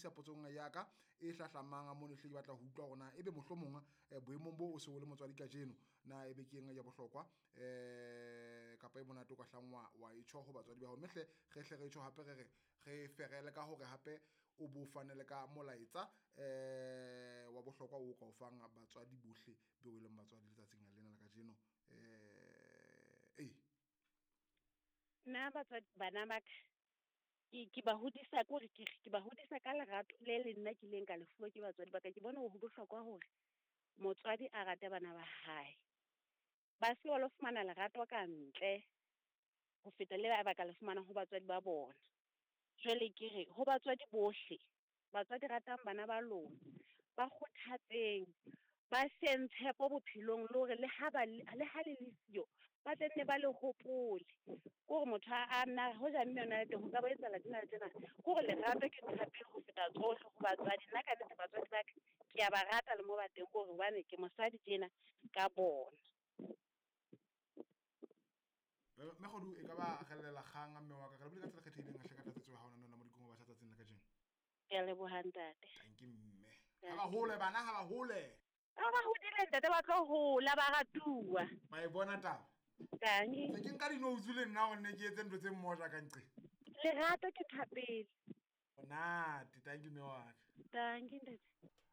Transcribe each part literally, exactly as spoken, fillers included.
isa potsong ya ka e hlahlamang mono hle ke batla ho utlwa hore na ebe mohlomong eh, boemong bo o se o le motswadi kajeno na ebe ke eng ya bohlokwa eh kapa e monate o ka hlang wa wa e tjho ho batswadi ba hao. Mme hle re hle re tjho hape re re re ferele ka hore hape o bo fane le ka molaetsa eh wa bohlokwa o ka o fang batswadi bohle beo e leng batswadi letsatsing lena la kajeno. Eh eh Nna batswadi bana ba ka ke ke ba hodisa ke hore ke ke ba hodisa ka lerato le le nna ke ileng ka le fuwa ke batswadi ba ka. Ke bona hore ho bohlokwa hore motswadi a rate bana ba hae. Ba se ba lo fumana lerato ka ntle ho feta le ba ba ka le fumanang ho batswadi ba bona. Jwale ke re ho batswadi bohle, batswadi ratang bana ba lona, ba kgothatseng, ba feng tshepo bophelong le hore le ha ba le le ha le le siyo, ba tla nne ba le hopole. Ke hore motho a nna hoja mme yona le teng ho ka ba etsahala tsena le tsena. Ke hore lerato ke ntho ya pele ho feta tsohle ho batswadi. Nna ka nnete batswadi ba ka ke a ba rata le mo ba teng ke hore hobane ke mosadi tjena ka bona. Mme Kgodu e ka ba rellela kgang mme wa ka re bile ka tsela e kgethehileng hle ka tlatsetso ya hao nona Modikong wa batjha tsatsing la kajeno. Ke a leboha ntate. Thank you mme. Ha ba hole bana ha ba hole. Ha ba hodile ntate ba tlo hola ba ratuwa. Ba e bona taba. Tangi. Se ke nka di-notes le nna hore ne ke etse ntho tse mmoja ka nqe. Lerato ke thapelo. Monate, thank you mme wa ka. Thank you ntate.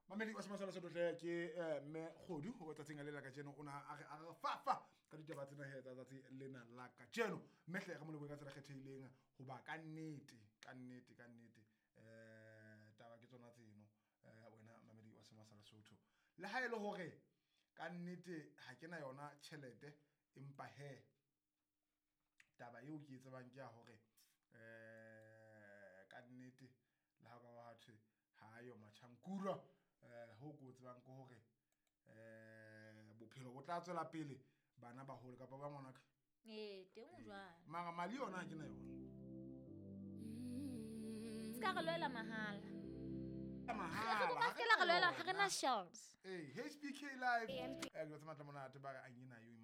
Mamedi wa Semasala Sotho ke eh, mme Kgodu ho tsatsing le la kajeno o na a re a re fa fa ka ditaba tsena he tsa tsatsi lena la kajeno. Mme hle re mo lebohe ka tsela e kgethehileng hoba ka nnete ka nnete ka nnete eh taba ke tsona tseno eh wena mamedi wa Semasala Sotho. Le ha e le hore ka nnete ha ke na yona tjhelete empa he taba eo ke e tsebang ke ya hore eh ka nnete le ha ka wa thwe ha yo matjhankura eh ho ko tsebang ke hore eh bophelo bo tla tswela pele bana ba hole kapa ba ngwana ka. Ee, teng o jwalo. Mara mali yona ha ke na yona. Se ka re lwela mahala. Mahala. Re se ka la re lwela, ha re na shelves. Eh, H P K Live. Eh, ke tsa matla monate ba re angina yo